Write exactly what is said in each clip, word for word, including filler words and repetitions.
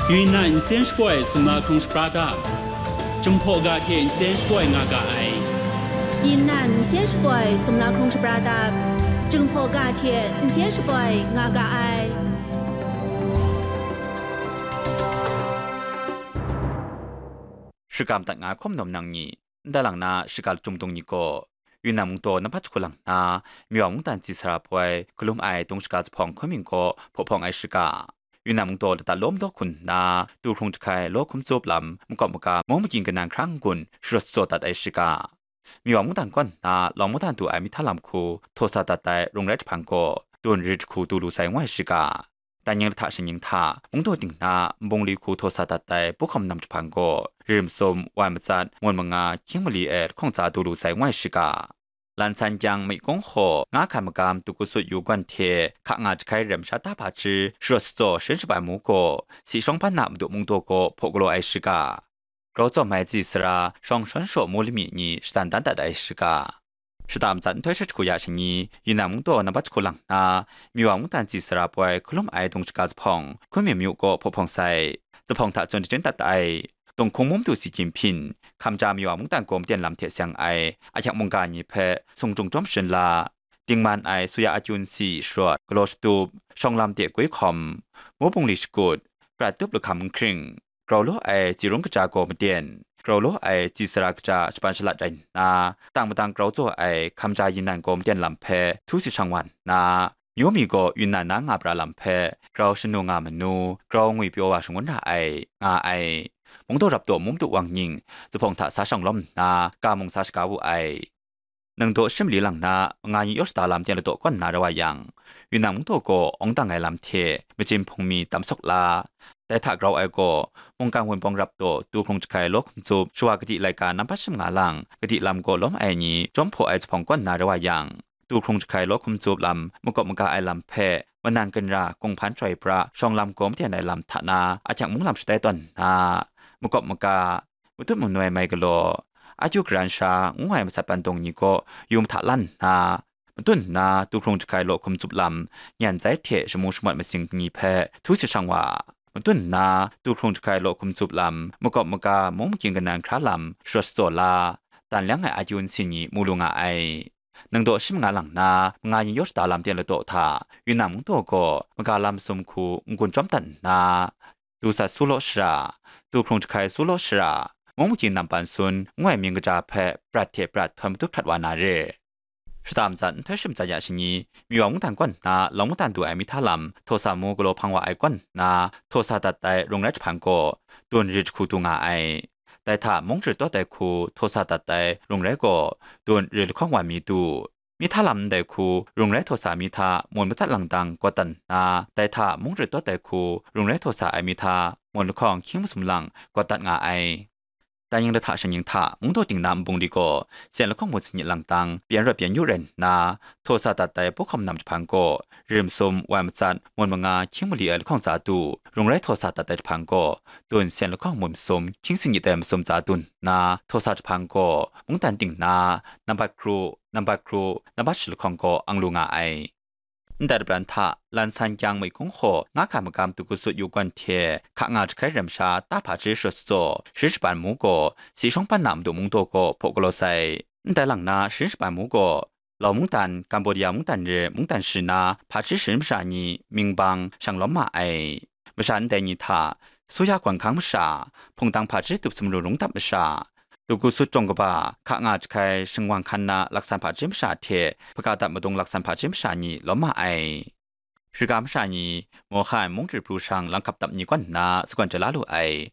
Yunnan nsen shapoi sumla hkrung shapra dap, Jinghpaw ga hte nsen shapoi nga ga ai. Yunnan nsen shapoi sumla hkrung shapra dap, Jinghpaw ga hte nsen shapoi nga ga ai. Shakam dat nga hkum nawm nang ni, ndai lang na shaka lachyum dung ni gaw, Yunnan mungdaw nambat jahku lang nna, Miwa mungdan tsi sara poi galum ai dung shaga zuphpawng hkun mying gaw hpaw hpawng ai shaka, Yunnan mungdaw ladat lawm daw hkun nna, tu hkrung jahkai law hkum tsup lam makawp maga mung makying kanan hkra n-gun sharawt shajaw dat ai shaka, Miwa mungdan kaw nna lawng mungdan du ai mihta lam hku htaw sa dat ai rung rai jahpan gaw, dun rit jahku du lu sai ngu ai shaka, Danying lahta shingnying hta, mungdaw ting na nbungli hku htaw sa dat ai puhkawm nam jahpan gaw, ri masum, wai matsat, ngun manga, hkying mali e lahkawng tsa du lu sai ngu ai shaka, lan san kyang myi kung hkaw nga hkan magam tu ku sut yu gawn hte hka nga jahkai rem sha ta hpa hti sharawt shatsaw sharin shabai mu gaw, si shawng ban na madu mungdaw gaw hpaw galaw ai shaka, grau tsawm ai tsi sara, shawng shawn shaw mu lami ni shadan dan dat ai shaka, shata matsat nhtoi hkrit hku ya shani, Yunnan mungdaw nambat jahku lang nna, Miwa mungdan tsi sara poi hkalum ai dung shaga zuphpawng hkun mying myu gaw hpaw hpawng sai, zuphpawng hta tsun shajin dat ai, Tunghkung mum du si gyim hpyin, hkamja Miwa mungdan gaw maten lam hte seng ai ahkyang mungga ni hpe sung jung jawm sharin la, dingman ai suya akyun si sharawt galaw shatup, shawng lam de gwi hkawm, mu bungli shakut, prat tup lahkam nhkring, grau law ai tsi rung kaja gaw maten, grau law ai tsi sara kaja shapan shalat rai nna, tang madang grau tsaw ai hkamja Yunnan gaw maten lam hpe htu si shang wa nna, myu mi gaw Yunnan na nga pra lam hpe grau shanu nga manu, grau ngwi pyaw wa shangun ra ai, nga ai. Mungdaw rap taw mum du wang nying, zuphpawng hta sa shang lawm nna, ga mung sa shaga wu ai. Nang daw shim li lang na, manga ni yaw shada lam ten ladaw kawn na rau wa yang, Yunnan mungdaw gaw awng dang ai lam hte, machin hpung mi tam sawk la, dai hta grau ai gaw, mungkan wunpawng rap taw tu hkrung jahkai law hkum tsup shawa kadi laika nambat shim nga lang, kadi lam gaw lawm ai ni jawm hpaw ai zuphpawng kawn na rau wa yang, tu hkrung jahkai law hkum tsup lam makawp maga ai lam hpe, manan ginra kunghpan chyoi pra shawng lam gaw maten ai lam hta na ahkyang mung lam shatai tawn nna, makawp maga, matut manoi mai galaw, akyu garan sha ngu ai masat pandung ni gaw yu mahta lan nna, matun nna tu hkrung jahkai law hkum tsup lam, nyan zai hte shamu shamawt masing ni hpe htu si shang wa, matun nna tu hkrung jahkai law hkum tsup lam, makawp maga mung makying kanan hkra lam sharawt shajaw la, dan leng ai akyu nsin ni mu lu nga ai. Nang daw shim nga lang na, manga ni yaw shada lam ten ladaw hta, Yunnan mungdaw gaw maga lam masum hku n-gun chyawm dat nna, tu sat su law shara, tu hkrung jahkai su law shara, mung makying nam pan sun ngu ai mying kaja hpe prat hte prat htawn matut hkrat wa na re. Shata matsat nhtoi shum tsat ya shani, Miwa mungdan kaw nna lawng mungdan du ai mihta lam htaw sa mu galaw hpang wa ai kaw nna htaw sa dat ai rung rai jahpan gaw, dun rit jahku du nga ai. Dai hta mung rit tawt ai hku htaw sa dat ai rung rai gaw, dun rit lahkawng wan mi du. Mihta lam ndai hku rung rai htaw sa mi hta mun matsat lang dang kawt dat nna, dai hta mung rit tawt ai hku rung rai htaw sa ai mi hta mun lahkawng hkying masum lang kawt dat nga ai. Danying lahta shingnying hta mungdaw ting na nbungli gaw, sen lahkawng mun sanit lang dang pyan rawt pyan yu rai nna, htaw sa dat ai puhkawm nam jahpan gaw, rim sum, wai matsat, mun manga, hkying mali ai lahkawng tsa du, rung rai htaw sa dat ai jahpan gaw, dun sen lahkawng mun masum, hkying sanit ai masum tsa dun nna, htaw sa jahpan gaw, mungdan ting na, nambat kru, nambat kru, nambat shi lahkawng gaw ang lu nga ai. Ndai lapran hta, lan san kyang myi kung hkaw nga hkan magam tu ku sut yu gawn hte, hka nga jahkai rem sha ta hpa hti sharawt shajaw, sharin shaban mu gaw, si shawng ban na madu mungdaw gaw hpaw galaw sai. Ndai lang na sharin shaban mu gaw, Lau mungdan, Kambodia mungdan re mungdan shi na hpa hti sharin masha ni mying bang shang lawm ma ai. Masha ndai ni hta, Suya gawn hkang masha, hpungtang hpa hti tup sumru rung dap masha, tu ku sut jawng kaba, hka nga jahkai shingwang hkan na laksan hpa hti masha hte hpaga dap madung laksan hpa hti masha ni lawm ma ai. Riga masha ni, Mawhan mung chyu pru shang lam hkap dap ni kaw nna sagawn chya la lu ai.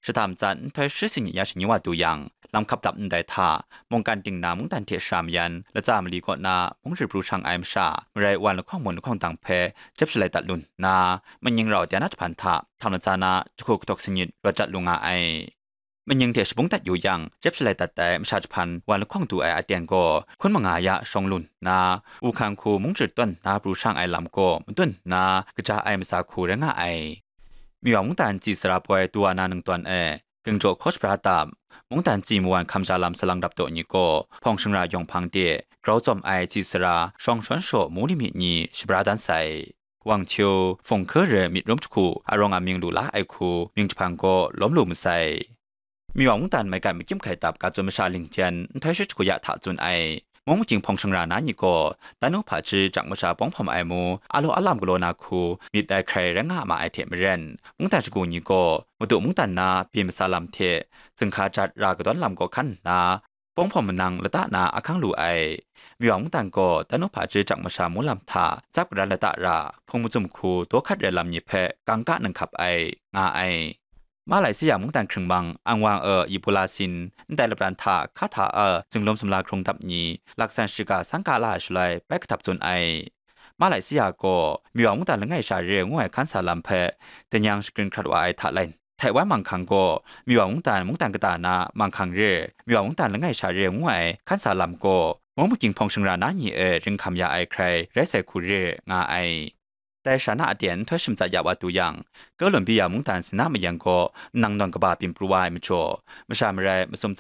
Shata matsat nhtoi shi sanit ya shani wa du yang, lam hkap dap ndai hta, mungkan ting na mungdan hte shara mayan, latsa mali kaw na mung chyu pru shang ai masha, marai wan lahkawng mun lahkawng dang hpe jep shalai dat lu nna, manying rau dai na jahpan hta, htam latsa na jahku kahtawk sanit rawt jat lu nga ai. Manying hte shabung dat yu yang, jep shalai dat ai masha jahpan wan lahkawng du ai aten gaw, hkun manga ya shawng lu nna, Wuhkan hku mung chyu tawn na pru shang ai lam gaw madun nna, kaja ai matsa hku rai nga ai. Miwa mungdan tsi sara poi du wa na ningtawn e, Ging jaw hkaw shabra dap, mungdan tsi mawan hkamja lam salang rap taw ni gaw, hpawng shingra yawng hpang de, grau tsawm ai tsi sara, shawng shawn shaw mu limit ni shabra dan sai. Wang Qiu, Fung Hke re myit rum jahku arawng amying lu la ai hku mying jahpang gaw lawm lu masai. Miwa mungdan maigan makyim hkai tap ga tsun masha Ling Jian nhtoi shi jahku ya hta tsun ai. Mung makying hpawng shangra na ni gaw, dan nu hpaji jang masha bawng hpawm ai mu, a law a lam galaw na hku myit dai hkrai rai nga ma ai hte maren, mungdan shagu ni gaw, madu mungdan na byin masa lam hte, zinghka jat ra kadawn lam gaw hkan nna, bawng hpawm manang lata na ahkang lu ai. Miwa mungdan gaw, dan nu hpaji jang masha mung lam hta tsap karan lata ra, hpung mazum hku daw hkat rai lam ni hpe kangka nang hkap ai, nga ai. Malaysia mungdan hkringmang Anwang e Ebola sin, ndai lapran hta hka hta e zinglum sumla hkrung dap ni, laksan shiga sangka la ai shaloi bai kahtap tsun ai. Malaysia gaw Miwa mungdan langai sha re ngu ai hkan sa lam hpe, danyang shagrin hkrat wa ai hta lai, Taiwan manghkang gaw Miwa mungdan mungdan kata na manghkang re, Miwa mungdan langai sha re ngu ai hkan sa lam gaw, mung makying hpawng shangra na ni e ringhkam ya ai hkrai rai sai hku re nga ai. Dai sha na aten nhtoi shim tsat ya wa tu yang, Kowlombia mungdan Sina mayan gaw nang nawn kaba byin pru wa ai majaw, masha marai masum